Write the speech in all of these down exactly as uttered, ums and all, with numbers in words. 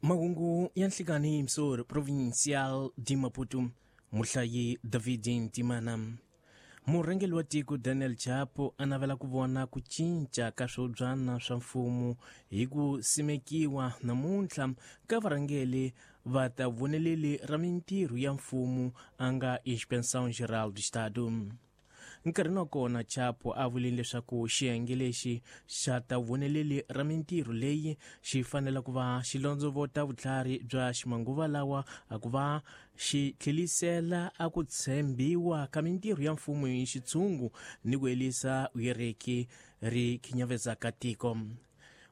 Mahungu ya nhlikani Msor Provincial de Maputo, muhlayi David Ntimana. Murhangeri wa tiko Daniel Chapo a navela ku vona ku cinca ka swibyana swa mfumo hi ku simekiwa namuntlha ka varhangeri va ta voneleli ra mintirho ya mfumo a nga Inspeção Geral do Estado. Nkarhi wa kona Chapo a vulile leswaku xiyenge lexi xa ta voneleli ra mintirho leyi xi fanele ku va xi londzovota vutlhari bya ximanguva lawa a ku va xi tlhelisela a ku tshembiwa ka mintirho ya mfumo hi xitshungu ni ku herisa vuyereki ri khinyavedzaka tiko.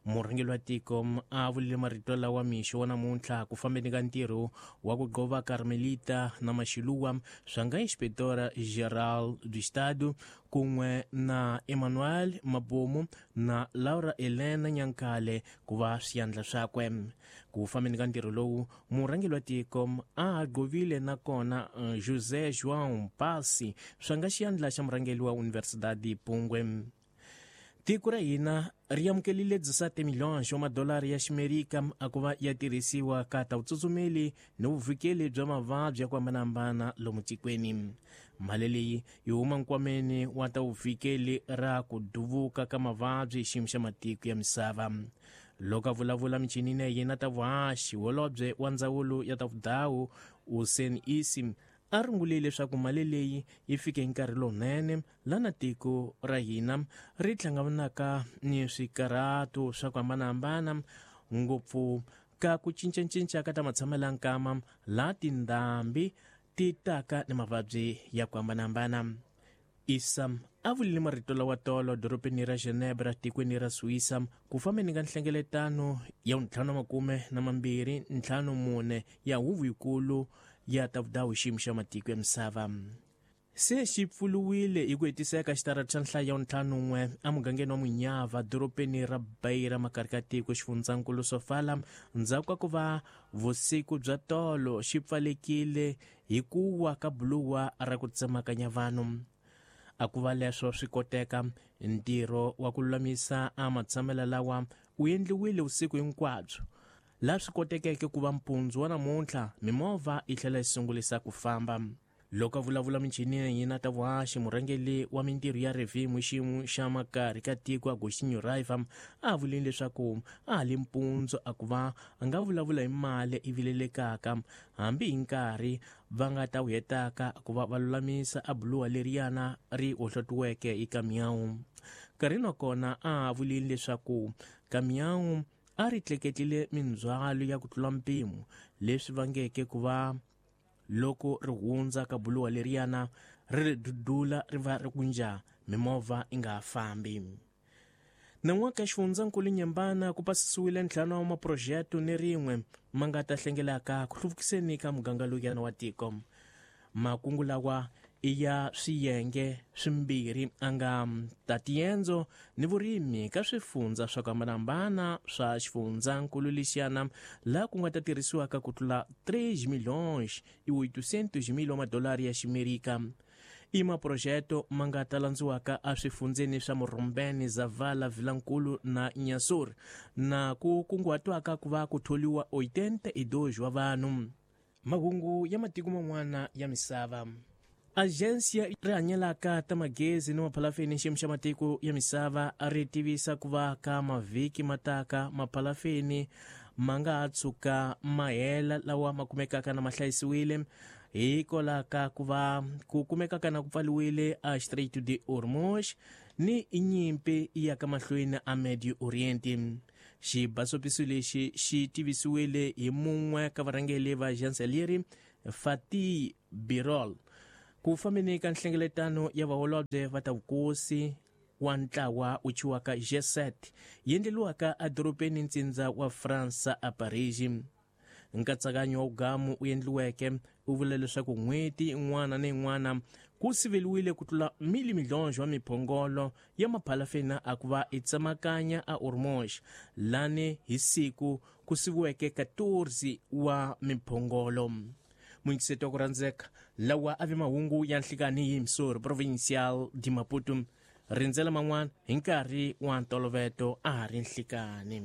Murhangeri wa tiko a vulile marito lawa mixo wa namuntlha ku fambeni ka ntirho wa ku gqova Carmelita na Maxiluwa swa nga Inspetora Geral do Estado kun'we na Emmanuel Mabomo na Laura Elena Nyankale ku va swiyandla swakwe. Ku fambeni ka ntirho lowu murhangeri wa tiko a gqovile nakona José João Passi swa nga xiyandla xa murhangeri wa Universidade Pungwe. Tiko ra hina ri amukelile dezessete milhões wa madolari ya ximerika a ku va ya tirhisiwa ka ta vutsutsumeli ni vuvikeli bya mavabyi ya ku hambanahambana lomu tikweni. Mali leyi yi huma nkwameni wa ta vuvikeli ra ku duvuka ka mavabyi hi xiyimo xa matiko ya misava. Loko a vulavula michinini ya yena ta vuhaxi holobye wa ndzawulo ya ta vudawu Usain Isi a rungulile leswaku mali leyi yi fike hi nkarhi lowunene lana tiko ra hina ri hlanganaka ni swikarhato swa ku hambanahambana ngopfu ka ku cincacinca ka ta matshamelo ya nkama laha tindhambi ti taka ni mavabyi ya ku hambanahambana. Isa a vulile marito lawa tolo dorobeni ra Geneva tikweni ra Suisa ku fambeni ka nhlengeletano ya ntlhanu na makume na mambirhi ntlhanu mune ya huvo yikulu ya ta vudawu xiyimo xa matiko ya misava. Se xi pfuluwile hi ku hetiseka xitarata xa nhlayo ya ntlhanu n'we emugangeni wa Munyava dorobeni ra Beira makarhi ka tiko xifundzankulu Sofala ndzhaku ka ku va vusiku bya tolo xi pfalekile hi ku wa ka buluwa ra ku tsemakanya vanhu. A ku va leswo swi koteka ntirho wa ku lulamisa a matshamelo lawa wu endliwile vusiku hinkwabyo laha swi kotekeke ku va mpundzu wa namuntlha mimovha yi tlhela yi sungulisa ku famba. Loko a vulavula michinini yina ta vuhaxi murhangeri wa mintirho ya revhimu xiyimo xa makarhi ka tiko Agostinho Raiva a vulile leswaku a ha li mpundzu a ku va a nga vulavula hi mali yi vilelekaka hambi hi nkarhi va nga ta wu hetaka ku va va lulamisa a buluwa leriyana ri hohlotiweke hi kamiyawu. Nkarhi wa kona a vulile leswaku kamiyawu a ri tleketlile mindzhwalo ya ku tlula mpimo leswi vangeke ku va loko ri hundza ka buluwa leriyana ri ri dudula ri va ri kunja mimovha yi nga ha fambi. Nan'waka xifundzankulu Nyembana ku pasisiwile ntlhanu wa maphurojete ni rin'we ma nga ta hlengelaka ku hluvukiseni ka muganga lowuyana wa tiko. Makungu lawa i ya swiyenge swimbirhi a nga ta tiendzo ni vurimi ka swifundza swa ku hambanahambana swa xifundzankulu lexiyana laha ku nga ta tirhisiwaka ku tlula três milhões e oitocentos mil wa madolari ya ximerika. I maphurojete ma nga ta landziwaka eswifundzeni swa Murumbeni, Zavala, Vilankulu na Inhassoro na ku kunguhatiwaka ku va ku tholiwa oitenta e dois wa vanhu. Mahungu ya matiko man'wana ya misava. Agência ri hanyelaka ta magezi ni maphalafeni xiyimo xa matiko ya misava ri tivisa ku va ka mavhiki mataka maphalafeni ma nga ha tshuka ma hela lawa ma kumekaka na ma hlayisiwile hikwalaho ka ku va ku kumekaka na ku pfaliwile a Strait de Hormuz ni nyimpi ya ka mahlweni a Medio Oriente. Xibasopiso lexi xi tivisiwile hi mun'we ka varhangeri va agência leri Fatih Birol ku fambeni ka nhlengeletano ya vaholobye va ta vukosi wa ntlawa wu thyiwaka G seven yi endleriwaka edorobeni ntsindza wa Fransa a Paris. Nkatsakanyo wa wugamu wu endliweke wu vula leswaku n'hweti yin'wana na yin'wana ku siveliwile ku tlula mili milhões wa miphongolo ya maphalafeni a ku va yi tsemakanya a Hormuz lani hi siku ku siviweke quatorze wa miphongolo. Muyingiseti wa ku rhandzeka lawa a vi mahungu ya nhlikani hi Msor Provincial de Maputo. Rindzela man'wana hi nkarhi wa ntoloveto a ha ri nhlikani.